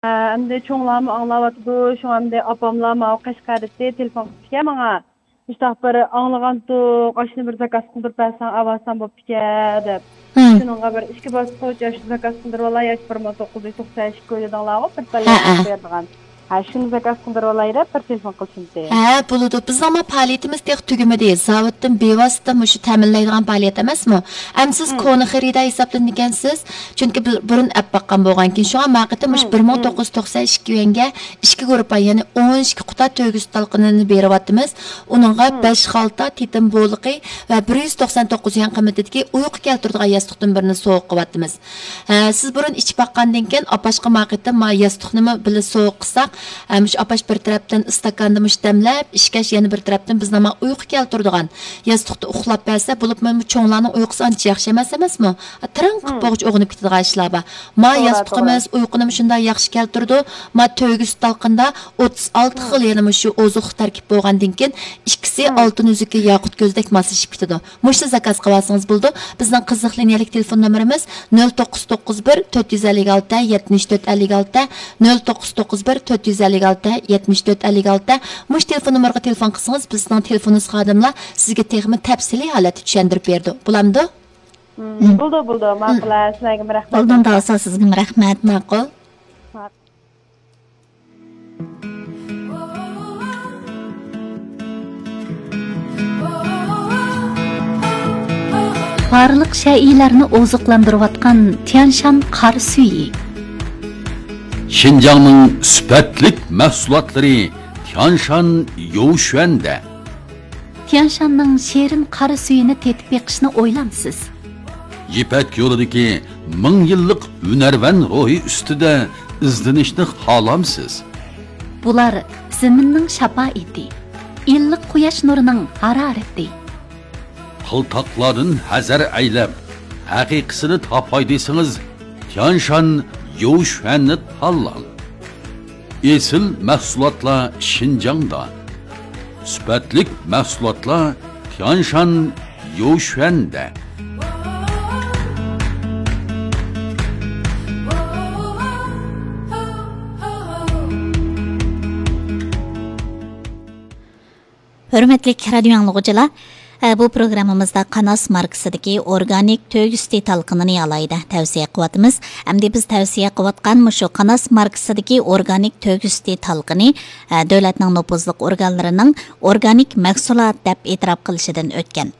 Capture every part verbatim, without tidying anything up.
ئەمدى چوڭلارمۇ ئاڭلاۋاتىدۇ، شۇڭا ئەمدى ئاپاملار ماۋۇ قەشقەردىكى تېلېفون قىپتىكەن ماڭا. مۇشۇنداق بىر ئاڭلىغانتۇق، ئاشۇنى بىر زاكاز قىلدۇرۇپ بەرسەڭ ئاۋارسان بوپتىكەن دەپ. ھىم. شۇنىڭغا بىر ئىككى باسقۇچ ئاشۇ زاكاز قىلدۇرۇۋالاي، ئاشۇ بىر مىڭ توققۇز يۈز توقسان ئىككى دېدىڭلارغۇ، بىر ھە، پەللە ھە. بېرىدىغان. ھە، شۇنى زاكاز قىلدۇرۇۋالاي دەپ بىر تېلېفون قىلسىمتى. ھە، بولىدۇ. بىزنىڭمۇ پائالىيىتىمىز تېخى تۈگىمىدى. زاۋۇتتىن بىۋاسىتە مۇشۇ تەمىنلەيدىغان پائالىيەت ئەمەسمۇ؟ ئەمدى سىز ھىم. كونا خېرىدار ھېسابلىنىدىكەنسىز. چۈنكى بىر-، بۇرۇن ئەپ باققان بولغانكىن. شۇڭا ما قېتىم مۇشۇ ھىم، بىر مىڭ توققۇز يۈز توقسان ئىككى يۈەنگە ئىككى گۇرۇپپا، يەنى ئون ئىككى قۇتا تۆگە سۈت تالقىنىنى بېرىۋاتىمىز. ئۇنىڭغا ھىم. بەش خالتا تېتىم بولىقى ۋە بىر يۈز توقسان توققۇز يۈەن قىممىتىدىكى ئۇيقۇ كەلتۈرىدىغان ياستۇقتىن بىرنى سوۋغا قىلىۋاتىمىز. ھە، سىز بۇرۇن ئىچىپ باققاندىن كېيىن، ئاپاشقا ما قېتىم ما ياستۇقنىمۇ بىللە سوۋغا قىلساق، ھە، مۇشۇ ئاپاش بىر تەرەپتىن ئىستاكاندا مۇشۇ دەملەپ، ئىچكەچ يەنە بىر تەرەپتىن بىزنىڭ ما ئۇيقۇ كەلتۈرىدىغان ياستۇقتا ئۇخلاپ بەرسە، بولۇپمۇ چوڭلارنىڭ ئۇيقۇسى ئانچە ياخشى ئەمەس ئەمەسمۇ؟ تىرىڭ قىپ ھىم. بولغۇچە ئويغىنىپ كېتىدىغان ئىشلار بار. ما توغرا، ياستۇقىمىز توغرا. ئۇيقۇنىمۇ شۇنداق ياخشى كەلتۈرىدۇ. ما تۆگە سۈت تالقىندا ئوتتۇز ئالتە ھىم. خىل يەنە مۇشۇ ئوزۇقلۇق تەركىب بولغاندىن كېيىن، ئىككىسى ھىم. ئالتۇن ئۈزۈكى ياقۇت كۆزدەك ماسلىشىپ كېتىدۇ. مۇشۇنى زاكاز قىلىۋالسىڭىز بولىدۇ. بىزنىڭ قىزىق لىنىيەلىك تېلېفون نومۇرىمىز نۆل توققۇز توققۇز بىر، تۆت يۈز ئەللىك ئالتە، يەتمىش تۆت ئەللىك ئالتە، نۆل توققۇز توققۇز بىر، تۆت يۈز ئەللىك ئالتە، يەتمىش تۆت ئەللىك ئالتە. مۇشۇ تېلېفون نومۇرغا تېلېفون قىلسىڭىز، بىزنىڭ تېلېفونىمىز خادىملار سىزگە تېخىمۇ تەپسىلىي ھالەتتە چۈشەندۈرۈپ بېرىدۇ. بولامدۇ؟ مم، بولىدۇ، بولىدۇ. مم. ماقۇل، سىلەرگىمۇ رەھمەت. بولدى، ئۇندا بولسا سىزگىمۇ رەھمەت. ماقۇل. ماقۇل. بارلىق شەيئىلەرنى ئوزۇقلاندۇرۇۋاتقان تيانشان قارا سۈيى. شىنجاڭنىڭ سۈپەتلىك مەھسۇلاتلىرى تيانشان يوۋشۈەندە. تيانشاننىڭ شېرىن قارا سۈيىنى تېتىپ بېقىشنى ئويلامسىز؟ يىپەك يولىدىكى مىڭ يىللىق ھۈنەرۋەن روھى ئۈستىدە ئىزدىنىشنى خالامسىز؟ بۇلار زېمىننىڭ شاپائىتى، ئىللىق قۇياش نۇرىنىڭ ھارارىتى. قىلتاقلاردىن ھەزەر ئەيلەپ، ھەقىقىسىنى تاپاي دېسىڭىز، تيانشان يوۋشۈەننى تاللاڭ. ئېسىل مەھسۇلاتلار شىنجاڭدا. سۈپەتلىك مەھسۇلاتلار تيانشان يوۋشۈەندە. ھۆرمەتلىك رادىيو ئاڭلىغۇچىلار، ئە، بۇ پروگراممىمىزدا قاناس ماركىسىدىكى ئورگانىك تۆگە سۈتى تالقىنىنى ئالاھىدە تەۋسىيە قىلىۋاتىمىز. ئەمدى بىز تەۋسىيە قىلىۋاتقان مۇشۇ قاناس ماركىسىدىكى ئورگانىك تۆگە سۈتى تالقىنى، ئە، دۆلەتنىڭ نوپۇزلۇق ئورگانلىرىنىڭ ئورگانىك مەھسۇلات دەپ ئېتىراپ قىلىشىدىن ئۆتكەن.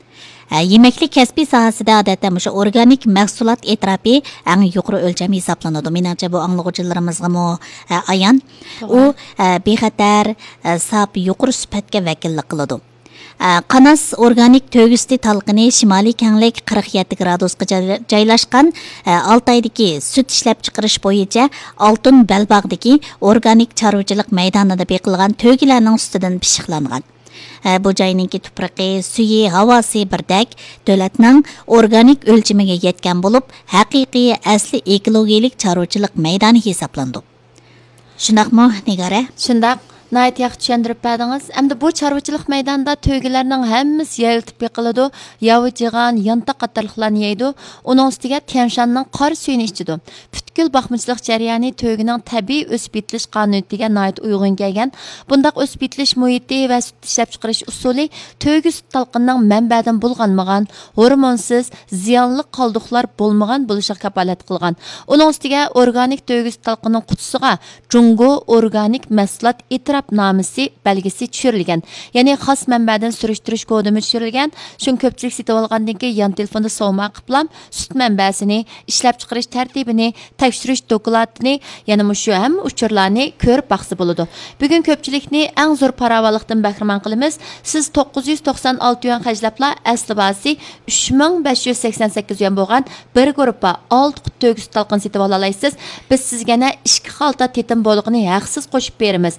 ئە، يېمەكلىك كەسپى ساھەسىدە ئادەتتە مۇشۇ ئورگانىك مەھسۇلات ئېتىراپى ئەڭ يۇقىرى ئۆلچەم ھېسابلىنىدۇ. مېنىڭچە، بۇ ئاڭلىغۇچىلىرىمىزغىمۇ، ئە، ئايان. توغرا. ئۇ، ئە، بىخەتەر، ئە، ساپ، يۇقىرى سۈپەتكە ۋەكىللىك قىلىدۇ. ئە، قاناس ئورگانىك تۆگە سۈتى تالقىنى شىمالىي كەڭلىك قىرىق يەتتە گرادۇسقا جاي-، جايلاشقان، ئە، ئالتايدىكى سۈت ئىشلەپچىقىرىش بويىچە ئالتۇن بەلباغدىكى ئورگانىك چارۋىچىلىق مەيدانىدا بېقىلغان تۆگىلەرنىڭ سۈتىدىن پىششىقلانغان. ئە، بۇ جاينىڭكى تۇپرىقى، سۈيى، ھاۋاسى بىردەك، دۆلەتنىڭ ئورگانىك ئۆلچىمىگە يەتكەن بولۇپ، ھەقىقىي، ئەسلى ئېكولوگىيەلىك چارۋىچىلىق مەيدانى ھېسابلىنىدۇ. شۇنداقمۇ، نىگارە؟ شۇنداق، ناھايىتى ياخشى چۈشەندۈرۈپ بەردىڭىز. ئەمدى بۇ چارۋىچىلىق مەيدانىدا تۆگىلەرنىڭ ھەممىسى يەۋېتىپ بېقىلىدۇ، ياۋا، جىغان، يانتاق قاتارلىقلارنى يەيدۇ. ئۇنىڭ ئۈستىگە تيەنشاننىڭ قارا سۈيىنى ئىچىدۇ. پۈتكۈل باقمىچىلىق جەريانى تۆگىنىڭ تەبىئىي ئۆسۈپ يېتىلىش قانۇنىيىتىگە ناھايىتى ئۇيغۇن كەلگەن. بۇنداق ئۆسۈپ يېتىلىش مۇھىتى ۋە سۈت ئىشلەپچىقىرىش ئۇسۇلى تۆگە سۈت تالقىنىنىڭ مەنبەدىن بۇلغانمىغان، ھورمونسىز، زىيانلىق قالدۇقلار بولمىغان بولۇشىغا كاپالەتلىك قىلغان. ئۇنىڭ ئۈستىگە ئورگانىك تۆگە سۈت تالقىنىنىڭ قۇتىسىغا جۇڭگو ئورگانىك مەھسۇلات ئېتىراپنامىسى بەلگىسى چۈشۈرۈلگەن. يەنى خاس مەنبەدىن سۈرۈشتۈرۈش كودىمۇ چۈشۈرۈلگەن. شۇڭا كۆپچىلىك سېتىۋالغاندىن كېيىن يان تېلېفوندا سوۋغا قىلىپلا سۈت مەنبەسىنى، ئىشلەپچىقىرىش تەرتىپىنى، تەكشۈرۈش دوكلاتىنى، يەنە مۇشۇ ھەممە ئۇچۇرلارنى كۆرۈپ باقسا بولىدۇ. بۈگۈن كۆپچىلىكنى ئەڭ زور پاراۋانلىقتىن بەھرىمەن قىلىمىز. سىز توققۇز يۈز توقسان ئالتە يۈەن خەجلەپلا ئەسلى باھاسى ئۈچ مىڭ بەش يۈز سەكسەن سەككىز يۈەن بولغان بىر گۇرۇپپا ئالتە قۇت تۆگە سۈت تالقىنى سېتىۋالالايسىز. بىز سىزگە يەنە ئىككى خالتا تېتىم بولىقىنى ھەقسىز قوشۇپ بېرىمىز.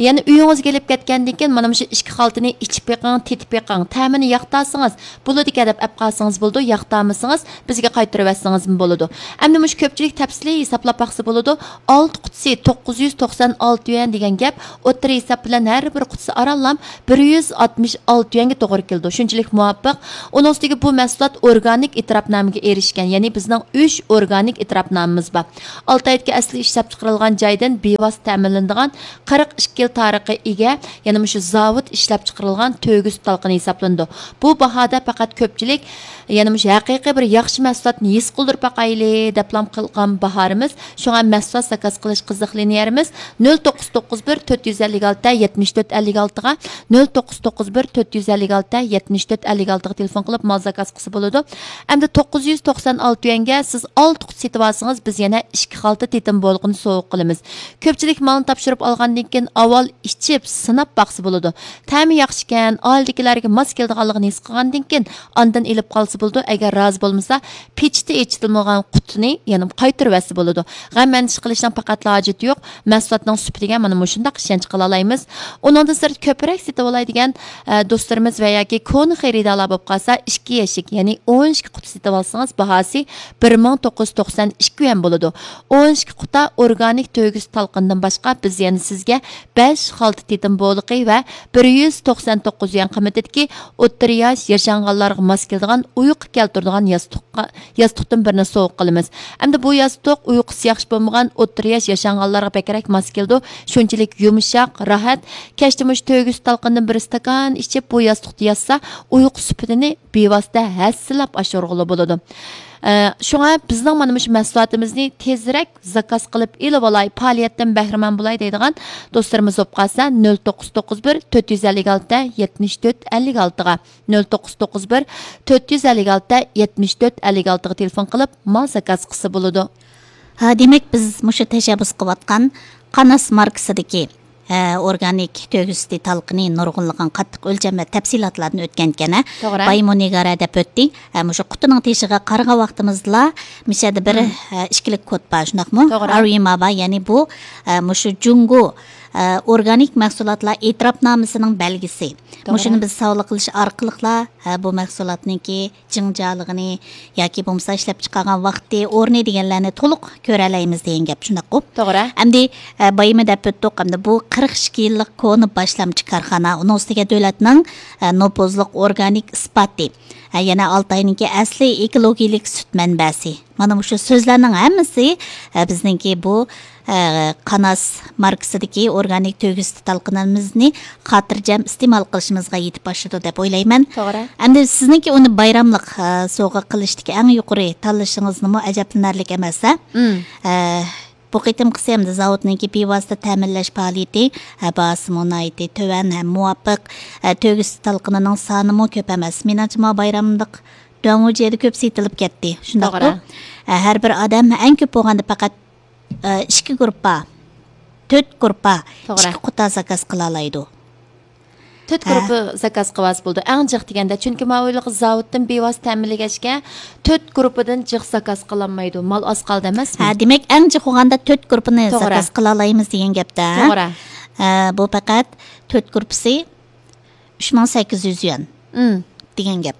يەنە ئۆيىڭىزگە ئېلىپ كەتكەندىن كېيىن مانا مۇشۇ ئىككى خالتىنى ئىچىپ بېقىڭ، تېتىپ بېقىڭ، تەمىنى ياقتارسىڭىز بولىدىكەن دەپ ئەپ قالسىڭىز بولىدۇ، ياقتارمىسىڭىز بىزگە قايتۇرۇۋەتسىڭىزمۇ بولىدۇ. ئەمدى مۇشۇ كۆپچىلىك تەپسىلىي ھېسابلاپ باقسا بولىدۇ. ئالتە قۇتىسى توققۇز يۈز توقسان ئالتە يۈەن دېگەن گەپ، ئوتتۇرا ھېساب بىلەن ھەر بىر قۇتىسى ئارانلا بىر يۈز ئاتمىش ئالتە يۈەنگە توغرا كېلىدۇ. شۇنچىلىك مۇۋاپىق. ئۇنىڭ ئۈستىگە بۇ مەھسۇلات ئورگانىك ئېتىراپنامىگە ئېرىشكەن، يەنى بىزنىڭ ئۈچ ئورگانىك ئېتىراپنامىمىز بار. ئالتايدىكى ئەسلى ئىشلەپچىقىرىلغان جايدىن بىۋاسىتە تەمىنلىنىدىغان قىرىق ئىككى يىل تارىخقا ئىگە، يەنە مۇشۇ زاۋۇت ئىشلەپچىقىرىلغان تۆگە سۈت تالقىنى ھېسابلىنىدۇ. بۇ باھادا پەقەت كۆپچىلىك، يەنە مۇشۇ ھەقىقىي بىر ياخشى مەھسۇلاتنى ھېس قىلدۇرۇپ باقايلى، دەپلا قىلغان باھارىمىز. شۇڭا مەھسۇلات زاكاز قىلىش قىزىقلىنىش يەرىمىز نۆل توققۇز توققۇز بىر تۆت يۈز ئەللىك ئالتە يەتمىش تۆت ئەللىك ئالتىغا، نۆل توققۇز توققۇز بىر تۆت يۈز ئەللىك ئالتە يەتمىش تۆت ئەللىك ئالتىغا تېلېفون قىلىپ مال زاكاز قىلسا بولىدۇ. ئەمدى توققۇز يۈز توقسان ئالتە يۈەنگە سىز ئالتە قۇت سېتىۋالسىڭىز، بىز يەنە ئىككى خالتا تېتىم بولىقىنى سوۋغا قىلىمىز. كۆپچىلىك مالنى تاپشۇرۇپ ئالغاندىن كېيىن ئاۋۋال ئىچىپ سىناپ باقسا بولىدۇ. تەمى ياخشىكەن، ئائىلىدىكىلەرگە ماس كېلىدىغانلىقىنى ھېس قىلغاندىن كېيىن ئاندىن ئېلىپ قالسا بولىدۇ. ئەگەر رازى بولمىسا، پېچىتى ئېچىلمىغان قۇتىنى يەنە قايتۇرۇۋەتسە بولىدۇ. غەم ئەندىشە قىلىشنىڭ پەقەتلا ھاجىتى يوق. مەھسۇلاتنىڭ سۈپىتىگە مانا مۇشۇنداق ئىشەنچ قىلالايمىز. ئۇنىڭدىن سىرت كۆپرەك سېتىۋالاي دېگەن، ئە، دوستلىرىمىز ۋە ياكى كونا خېرىدارلار بولۇپ قالسا، ئىككى يەشىك، يەنى ئون ئىككى قۇتا سېتىۋالسىڭىز، باھاسى بىر مىڭ توققۇز يۈز توقسان ئىككى يۈەن بولىدۇ. ئون ئىككى قۇتا ئورگانىك تۆگە سۈت تالقىنىدىن باشقا، بىز يەنە سىزگە بەش خالتا تېتىم بولىقى ۋە بىر يۈز توقسان توققۇز يۈەن قىممىتىدىكى ئوتتۇرا ياش ياشانغانلارغا ماس كېلىدىغان ئۇيقۇ كەلتۈرىدىغان ياستۇققا، ياستۇقتىن بىرنى سوۋغا قىلىمىز. ئەمدى بۇ ياستۇق ئۇيقۇسى ياخشى بولمىغان ئوتتۇرا ياش ياشانغانلارغا بەكرەك ماس كېلىدۇ. شۇنچىلىك يۇمشاق، راھەت. كەچتە مۇشۇ تۆگە سۈت تالقىنىدىن بىر ئىستاكان ئىچىپ، بۇ ياستۇقتا ياتسا، ئۇيقۇ سۈپىتىنى بىۋاسىتە ھەسسىلەپ ئاشۇرغىلى بولىدۇ. ئە، شۇڭا بىزنىڭ مانا مۇشۇ مەھسۇلاتىمىزنى تېزرەك زاكاز قىلىپ ئېلىۋالاي، پائالىيەتتىن بەھرىمەن بولاي دەيدىغان دوستلىرىمىز بولۇپ قالسا، نۆل توققۇز توققۇز بىر تۆت يۈز ئەللىك ئالتە يەتمىش تۆت ئەللىك ئالتىغا، نۆل توققۇز توققۇز بىر تۆت يۈز ئەللىك ئالتە يەتمىش تۆت ئەللىك ئالتىغا تېلېفون قىلىپ مال زاكاز قىلسا بولىدۇ. ھە، دېمەك، بىز مۇشۇ تەشەببۇس قىلىۋاتقان قاناس ماركىسىدىكى، ھە، ئورگانىك تۆگە سۈتى تالقىنى نۇرغۇنلىغان قاتتىق ئۆلچەم ۋە تەپسىلاتلاردىن ئۆتكەنكەن، ھە؟ توغرا. بايىمۇ نىگارە دەپ ئۆتتى. ھە، مۇشۇ قۇتىنىڭ تېشىغا قارىغان ۋاقتىمىزدىلا، مۇشۇ يەردە بىر، ھە، ئىككىلىك كود بار، شۇنداقمۇ؟ توغرا. ئارۇيما بار، يەنى بۇ، ھە، مۇشۇ جۇڭگو، ھە، ئورگانىك مەھسۇلاتلار ئېتىراپنامىسىنىڭ بەلگىسى. توغرا. مۇشۇنى بىز ساۋغا قىلىش ئارقىلىقلا، ھە، بۇ مەھسۇلاتنىڭكى جىڭجالىقىنى ياكى بولمىسا ئىشلەپچىقارغان ۋاقتى، ئورنى دېگەنلەرنى تولۇق كۆرەلەيمىز دېگەن گەپ، شۇنداققۇ؟ توغرا. ئەمدى، ئە، بايىمۇ دەپ ئۆتتۇق، ئەمدى بۇ قىرىق ئىككى يىللىق كونا باشلامچى كارخانا، ئۇنىڭ ئۈستىگە دۆلەتنىڭ، ئە، نوپۇزلۇق ئورگانىك ئىسپاتى، ئە، يەنە ئالتاينىڭكى ئەسلى ئېكولوگىيىلىك سۈت مەنبەسى. مانا مۇشۇ سۆزلەرنىڭ ھەممىسى، ئە، بىزنىڭكى بۇ ئە، قاناس ماركىسىدىكى ئورگانىك تۆگە سۈتى تالقىنىمىزنى خاتىرجەم ئىستېمال قىلىشىمىزغا يېتىپ ئاشىدۇ دەپ ئويلايمەن. توغرا. ئەمدى سىزنىڭكى ئۇنى بايراملىق، ئە، سوۋغا قىلىشتىكى ئەڭ يۇقىرى تاللىشىڭىزمۇ ئەجەبلىنەرلىك ئەمەس، ھە؟ مم. ئە، بۇ قېتىمقىسى ئەمدى زاۋۇتنىڭكى بىۋاسىتە تەمىنلەش پائالىيىتى، ئە، باھاسىمۇ ناھايىتى تۆۋەن ھەم مۇۋاپىق، ئە، تۆگە سۈتى تالقىنىنىڭ سانىمۇ كۆپ ئەمەس. مېنىڭچە، ماۋۇ بايراملىق دۇەنۋۇجيەدە كۆپ سېتىلىپ كەتتى. شۇنداققۇ؟ توغرا. ئە، ھەر بىر ئادەم ئەڭ كۆپ بولغاندا پەقەت ئىككى گۇرۇپپا، تۆت گۇرۇپپا، توغرا. ئىككى قۇتا زاكاز قىلالايدۇ. تۆت ھە. گۇرۇپپا زاكاز قىلىۋالسا بولىدۇ. ئەڭ جىق دېگەندە، چۈنكى ماۋۇ يىلقى زاۋۇتتىن بىۋاسىتە تەمىنلىگەچكە، تۆت گۇرۇپپىدىن جىق زاكاز قىلالمايدۇ. مال ئاز قالدى ئەمەسمۇ؟ ھە، دېمەك، ئەڭ جىق بولغاندا تۆت گۇرۇپپىنى توغرا. زاكاز قىلالايمىز دېگەن گەپتە. توغرا. ھە، بۇ پەقەت تۆت گۇرۇپپىسى ئۈچ مىڭ سەككىز يۈز يۈەن مم. دېگەن گەپ.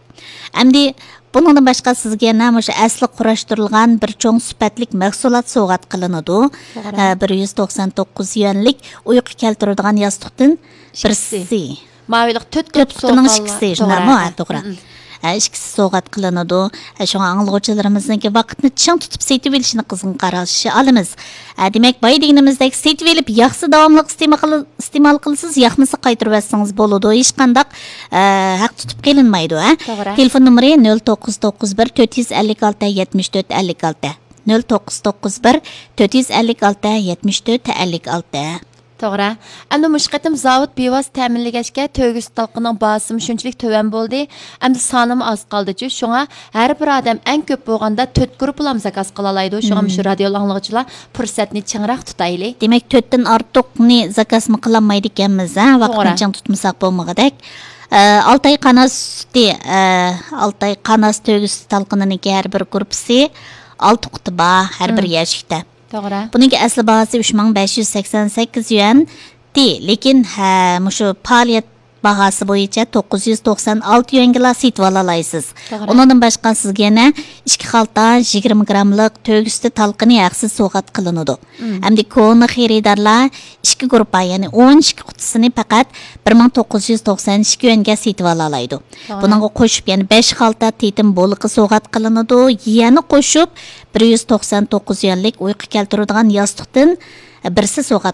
ئەمدى بۇنىڭدىن باشقا سىزگە يەنە مۇشۇ ئەسلى قۇراشتۇرۇلغان بىر چوڭ سۈپەتلىك مەھسۇلات سوۋغات قىلىنىدۇ. توغرا. ئە، بىر يۈز توقسان توققۇز يۈەنلىك ئۇيقۇ كەلتۈرىدىغان ياستۇقتىن ئىككىسى. بىرسى. ماۋۇلۇق تۆت تۆت گۇرۇپپا قۇتىنىڭ سوۋغا-، ئىككىسى، شۇنداقمۇ؟ توغرا. ھە، توغرا. مم. ئە، ئىككىسى سوۋغات قىلىنىدۇ. ئە، شۇڭا ئاڭلىغۇچىلىرىمىزنىڭكى ۋاقىتنى چىڭ تۇتۇپ سېتىۋېلىشىنى قىزغىن قارشى ئالىمىز. ئە، دېمەك، بايا دېگىنىمىزدەك سېتىۋېلىپ ياقسا داۋاملىق ئىستېمال قىل-، ئىستېمال قىلىسىز، ياقمىسا قايتۇرۇۋەتسىڭىز بولىدۇ. ھېچقانداق، ئە، ھەق تۇتۇپ قېلىنمايدۇ، ھە؟ توغرا. تېلېفون نومۇرى نۆل توققۇز توققۇز بىر تۆت يۈز ئەللىك ئالتە يەتمىش تۆت ئەللىك ئالتە. نۆل توققۇز توققۇز بىر تۆت يۈز ئەللىك ئالتە يەتمىش تۆت ئەللىك ئالتە. توغرا. ئەمدى مۇشۇ قېتىم زاۋۇت بىۋاسىتە تەمىنلىگەچكە، تۆگە سۈت تالقىنىنىڭ باھاسىمۇ شۇنچىلىك تۆۋەن بولدى. ئەمدى سانىمۇ ئاز قالدىچۇ. شۇڭا ھەر بىر ئادەم ئەڭ كۆپ بولغاندا تۆت گۇرۇپپىلام زاكاز قىلالايدۇ. شۇڭا مم. مۇشۇ رادىيو ئاڭلىغۇچىلار پۇرسەتنى چىڭراق تۇتايلى. دېمەك، تۆتتىن ئارتۇقنى زاكازمۇ قىلالمايدىكەنمىز، ھە؟ ۋاقىتنى توغرا. چىڭ تۇتمىساق بولمىغۇدەك. ئە، ئالتاي قاناس سۈتى، ئە، ئالتاي قاناس تۆگە سۈتى تالقىنىنىڭكى ھەر بىر گۇرۇپپىسى ئالتە قۇتا بار، ھەر بىر مم. يەشىكتە. توغرا. بۇنىڭكى ئەسلى باھاسى ئۈچ مىڭ بەش يۈز سەكسەن سەككىز يۈەن. لېكىن، ھە، مۇشۇ پائالىيەت باھاسى بويىچە توققۇز يۈز توقسان ئالتە يۈەنگىلا سېتىۋالالايسىز. توغرا. ئۇنىڭدىن باشقا سىزگە يەنە ئىككى خالتا يىگىرمە گراملىق تۆگە سۈتى تالقىنى ھەقسىز سوۋغات قىلىنىدۇ. مم. ئەمدى كونا خېرىدارلار ئىككى گۇرۇپپا، يەنى ئون ئىككى قۇتىسىنى پەقەت بىر مىڭ توققۇز يۈز توقسان ئىككى يۈەنگە سېتىۋالالايدۇ. توغرا. بۇنىڭغا قوشۇپ يەنە بەش خالتا تېتىم بولىقى سوۋغات قىلىنىدۇ. يەنە قوشۇپ بىر يۈز توقسان توققۇز يۈەنلىك ئۇيقۇ كەلتۈرىدىغان ياستۇقتىن بىرسى سوۋغات